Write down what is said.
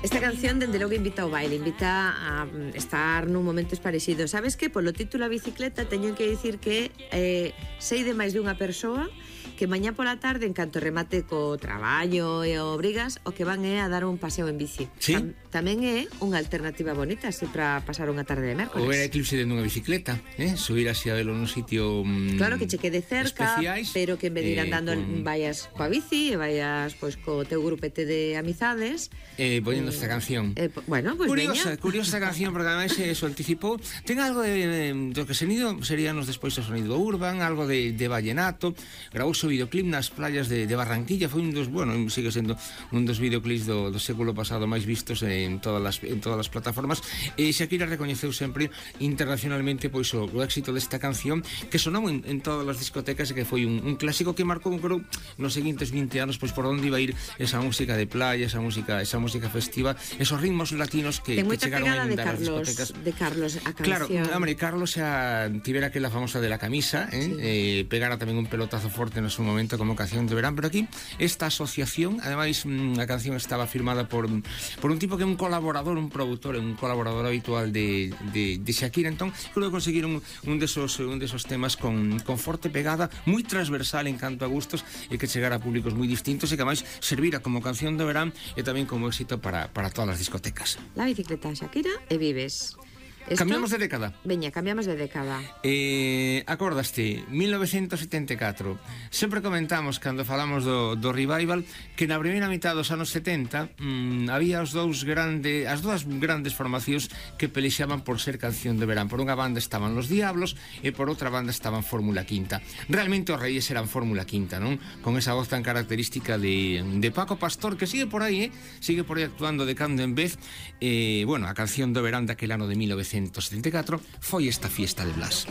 Esta canción, dende logo, invita ao baile, invita a estar nun momentos parecidos. Sabes que, polo título A Bicicleta, teño que dicir que sei de máis dunha persoa que mañá pola tarde, en canto remate co traballo e o obrigas, o que van é a dar un paseo en bici. Sí. Tamén é unha alternativa bonita, así, para pasar unha tarde de mércoles. Ou ver a eclipse dentro dunha bicicleta, subir así a velo nun sitio claro, que che quede cerca, especiais, pero que en vez de ir andando vayas coa bici e vayas pois co teu grupete de amizades. Poniendo esta canción. Bueno, pois curiosa, veña. curiosa canción, porque ademais eso anticipou. Ten algo do que seríanos despois o sonido urban, algo de vallenato. Grabouse o videoclip nas playas de Barranquilla. Foi un dos, bueno, sigue sendo un dos videoclips do século pasado máis vistos en todas as plataformas. E Shakira recoñeceu sempre internacionalmente pois o éxito desta canción, que sonou en todas as discotecas e que foi un clásico que marcou, creo, nos seguintes 20 anos, pois por onde iba a ir esa música de playa, esa música festiva, esos ritmos latinos que chegaron a inundar as discotecas. De Carlos a canción. Claro, hombre, Carlos xa tivera aquela famosa de la camisa, sí. Pegara tamén un pelotazo forte no seu momento como canción de verán, pero aquí esta asociación, ademais a canción estaba firmada por un tipo que é un colaborador, un produtor, un colaborador habitual de Shakira. Entón, creo que conseguiron un desos temas con forte pegada, moi transversal en canto a gustos, e que chegara a públicos moi distintos, e que máis servira como canción de verán e tamén como éxito para todas as discotecas. La Bicicleta, Shakira e Vives. Cambiamos de década. Veña, cambiamos de década. Acordaste, 1974. Sempre comentamos, cando falamos do revival, que na primeira mitad dos anos 70 había as dúas grandes formacións que pelexaban por ser canción de verán. Por unha banda estaban Los Diablos e por outra banda estaban Fórmula Quinta. Realmente os reis eran Fórmula Quinta, non? Con esa voz tan característica de Paco Pastor, que sigue por aí actuando de cando en vez. Bueno, a canción de verán daquel ano de 1974 foi esta Fiesta de Blas.